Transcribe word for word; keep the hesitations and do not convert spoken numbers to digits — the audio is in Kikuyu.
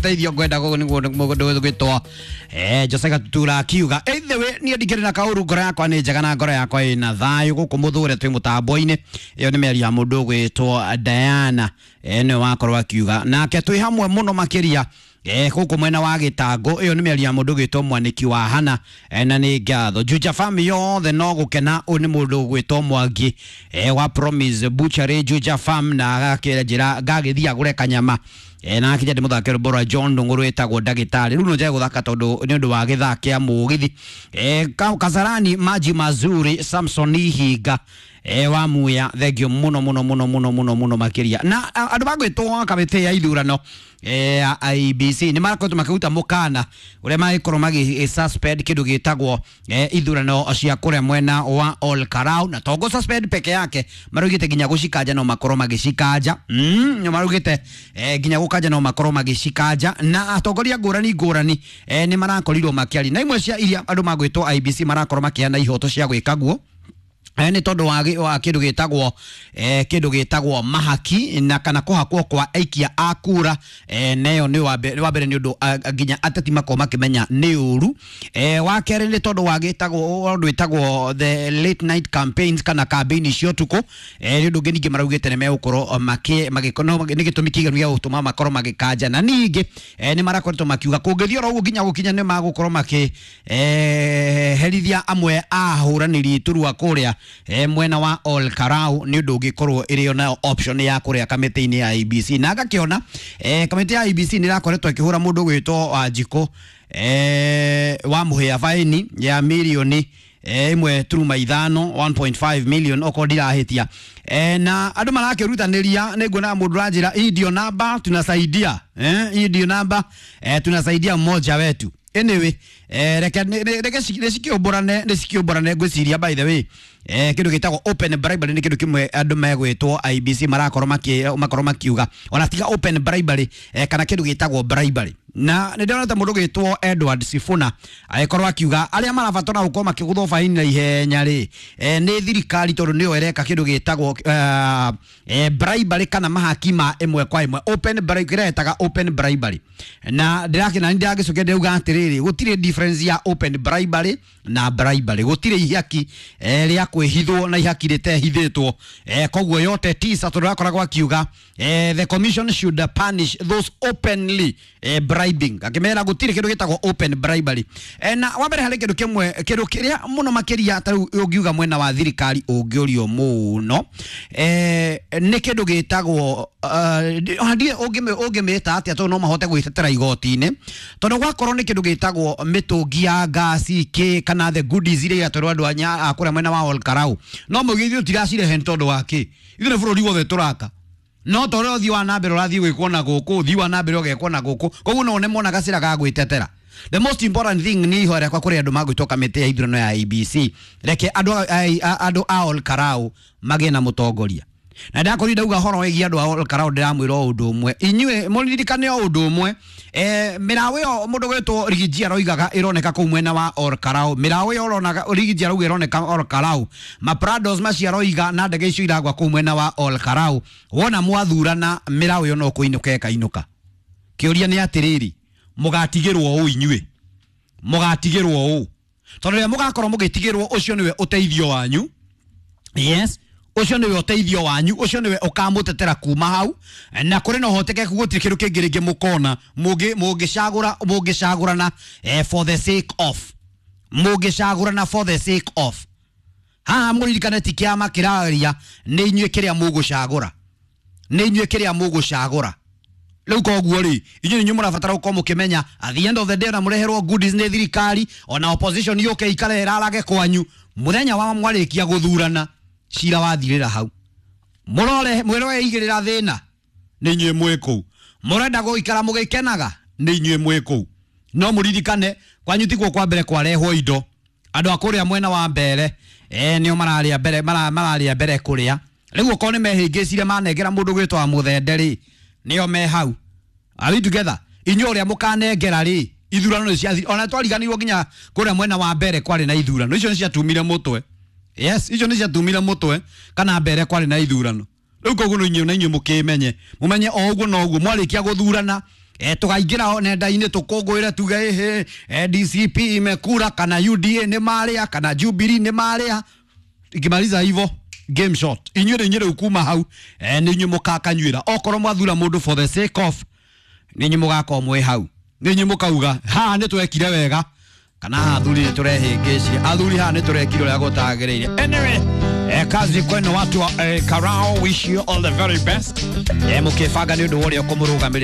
Teithio ngwenda niguo mũndũ gwĩtwo eh Jose Gatutura akiuga either way niĩ ndikĩrĩ na kaũru, ngoro yakwa nĩ njega na ngoro yakwa ĩna thayũ gũkũ mũthũre twĩ mũtambo-inĩ. Ĩyo nĩ mĩario ya mũndũ ũgwĩtwo Diana, eh nĩwe wakorwo akiuga nake twĩ hamwe mũno makĩria eh gũkũ mwena wa gĩtango. Ĩyo nĩ mĩario ya mũndũ ũgwĩtwo Mwanĩki wa Hana, eh, na nĩ ngatho Juja Farm yothe no gũkena. Ũyũ nĩ mũndũ ũgwĩtwo Mwangi eh, wa Promise Butchery Juja Farm, na agakĩnjĩra ngagĩthiĩ agũre kanyama eh, na akija ndĩmũthake rwĩmbo rwa John Ndung'u rwĩtagwo ndagĩtarĩ. Rĩu no njage gũthaka tondũ nĩ ũndũ wa gĩthaa kĩa mũgithi. eh, Kasarani Maji Mazuri Samson Ihinga eh, wa Muya, thengio mũno mũno mũno mũno mũno mũno makĩria. Na andũ magwĩtwo kamĩtĩ ya ithurano eh, I B C nĩ marakoretwo makĩruta mũkana ũrĩa magĩkorwo magĩ suspend kĩndũ gĩtagwo eh, ithurano cia kũrĩa mwena wa Ol Kalou, na to suspend peke yake, maraugĩte nginya gũcikanja no makorwo magĩcikanja. mm, maraugĩte eh, nginya gũkanja no makorwo magĩcikanja, na atongoria ngũrani ngũrani eh, nĩ marakorirwo makĩaria, na imwe cia iria andũ magwĩtwo I B C marakorwo makĩheana ihoto cia gwĩka guo nĩ tondũ wa kĩndũ gĩtagwo eh, kĩndũ gĩtagwo mahaki na kana kũhakwo kwa aikia a kura, eh, neyo nĩ wa mbere nĩ ũndũ nginya ateti makorwo makĩmenya nĩ ũru. Eh, wa kerĩ nĩ tondũ wa gĩtagwo ũndũ wĩtagwo the late night campaigns kana campaign cia ũtukũ, eh, nĩ ũndũ ũngĩ ningĩ maraugĩte nĩ megũkorwo makĩ magĩkorwo nĩ gĩtũmi kĩiganu gĩa gũtũma makorwo magĩkanja. Na ningĩ eh, nĩ marakoretwo makiuga kũngĩthiĩ oro ũguo nginya gũkinya nĩ magũkorwo makĩ eh, herithia amwe a ahũranĩri iturwa kũrĩa eh, mwena wa Ol Kalou, nĩ ũndũ ũngĩkorwo ĩrĩ ona option ya kũrĩa kamĩtĩ-inĩ ya I B C. Na ngakĩona eh, kamĩtĩ ya I B C nĩ ĩrakoretwo ĩkĩhũra mũndũ ũgwĩtwo Wanjikũ eh, wa Mũhĩa baini ya mirioni ĩmwe turuma ithano one point five million okorwo ndirahĩtia. Eh, na andũ marakĩrutanĩria, nĩ nguona mũndũ ũranjĩra hii ndio namba tunasaidia, eh, hii ndio namba eh, tunasaidia mmoja wetu. Anyway, eh, reke reke nĩcikiũmbũrane nĩcikiũmbũrane ngwĩciria by the way eh, kĩndũ gĩtagwo open bribery nĩ kĩndũ kĩmwe andũ megwĩtwo I B C marakorwo maki makorwo makiuga ona tiga open bribery eh, kana kĩndũ gĩtagwo bribery. Na nĩ ndĩrona ta mũndũ gĩtwo Edward Sifuna agĩkorwo akiuga arĩa marabatara gũkorwo makĩgũthwo baini na ihenya rĩ eh, nĩ thirikari tondũ nĩyo ĩreka kĩndũ gĩtagwo eh, eh, bribery kana mahaki ma ĩmwe kwa ĩmwe open bribery, kĩrĩa open bribery. Na ndĩrakĩna ndĩragĩcokia ndĩrauga atĩrĩrĩ, gũtirĩ difference ya open bribery na bribery, gũtirĩ ihaki eh, rĩa kwĩhithwo na ihaki rĩtehithĩtwo. eh, koguo yote tisa tondũ akoragwo akiuga eh, the commission should punish those openly eh, bribing, akimera gũtirĩ kĩndũ gĩtagwo open bribery. eh, na wa mbere harĩ kĩndũ kĩmwe kĩndũ kĩrĩa mũno makĩria ta rĩu ũngiuga mwena wa thirikari ũngĩũrio mũno eh, nĩ kĩndũ gĩtagwo ũngĩmĩta atĩa tondũ no mahote gwĩtetera igoti-inĩ, tondũ gwakorwo nĩ kĩndũ gĩtagwo mĩtũngi ya ngasi kĩ kana the goodies iria iratwarwo andũ a kũrĩa mwena wa Ol Kalou, no mauge ithuĩ tũtiracirehe nĩ tondũ wa kĩ, ithuĩ nĩ bũrũri wothe tũraka, no ta ũrĩa ũthiĩ wa na mbere ũrathiĩ gwĩkwo na gũkũ, ũthiĩ wa na mbere ũgekwo na gũkũ, koguo no nĩmona gacĩra ga gwĩtetera. The most important thing nĩ ihoya rĩakwa kũrĩ andũ magwĩtwo kamĩtĩ ya ithurano ya I B C, reke andũ andũ a Ol Kalou magĩe na mũtongoria. Na ndakorwo ndauga horo wĩgiĩ andũ a Ol Kalou ndĩramwĩra o ũndũ ũmwe, inyuĩ mũririkane o ũndũ ũmwe, eh, mĩraũ ĩyo mũndũ gwĩtwo Rigiji aroigaga ĩroneka kũu mwena wa Ol Kalou, mĩraũ ĩyo ũronaga Rigiji arauga ĩroneka Ol Kalou, maprados macio aroiga na ndege icio iragwa kũu mwena wa Ol Kalou, wona mwathurana mĩraũ ĩyo no kũinũka ĩkainũka. Kĩũria nĩ atĩrĩrĩ, mũgatigĩrwo ũũ inyuĩ, mũgatigĩrwo ũũ tondũ rĩrĩa mũgakorwo mũgĩtigĩrwo ũcio nĩwe ũteithio wanyu. Yes, ũcio nĩwe ũteithio wanyu, ũcio nĩwe ũkamũtetera kuma hau, na kũrĩ na ũhotekeku gũtirĩ kĩndũ kĩngĩ rĩngĩ mũkona mũngĩcagũra mũngĩcagũrana eh, for the sake of mũngĩcagũrana for the sake of. Haha mũririkane ti kĩama kĩraria, nĩ inyuĩ kĩrĩa mũgũcagũra, nĩ inyuĩ kĩrĩa mũgũcagũra. Rĩu koguo rĩ inyuĩ nĩ mũrabatara gũkorwo mũkĩmenya at the end of the day ona mũreherwo goodies nĩ thirikari ona opposition yũke ikare ĩrarage kwanyu, mũthenya wa mwarĩkia gũthurana cira wathirĩra hau, mũrore mwĩroe igĩrĩra thĩna nĩ inyuĩ mwĩ kũu, mũrenda gũikara mũgĩkenaga nĩ inyuĩ mwĩ kũu. No mũririkane kwanyu tikuo kwa mbere kwarehwo indo, andũ a kũrĩa mwena wa mbere eh, nĩo mararĩa mbere mararĩa mbere kũrĩa. Rĩu okorwo nĩ mehĩngĩcire manengera mũndũ gwĩtwo wa Mũthende rĩ, nĩo me hau. Are we together? Inyuĩ ũrĩa mũkanengera rĩ, ithurano nĩ ciathirire, ona twariganĩirwo nginya kũrĩa mwena wa mbere kwarĩ na ithurano icio nĩ ciatumire mũtwe. Yes, icio nĩ ciatumire mũtwe kana mbere kwarĩ na ithurano. Rĩu koguo no inyuĩ na inyuĩ mũkĩmenye, mũmenye o ũguo no ũguo mwarĩkia gũthurana E, tukaingĩra nenda-inĩ tũkũngũĩre tuge ĩhĩ e, D C P imekura kana U D A nĩ marĩa kana Jubilee nĩ marĩa. Ikimaliza hivyo, game shot. Inyuĩ nĩ inyuĩ rĩu kuma hau e, nĩ inyuĩ mũkakanyuĩra. Okorwo mwathura mũndũ for the sake of, nĩ inyuĩ mũgakorwo mwĩ hau, nĩ inyuĩ mũkauga haha nĩ twekire wega kana haha athuri nĩ tũrehĩngĩcire, athuri haha nĩ tũrekire ũrĩa gũtagĩrĩire. Anyway, eh, kazi kwenu watu wa eh, Karao, wish you all the very best eh, mũkĩbanga nĩ ũndũ wa ũrĩa ũkũmũrũgamĩrĩra.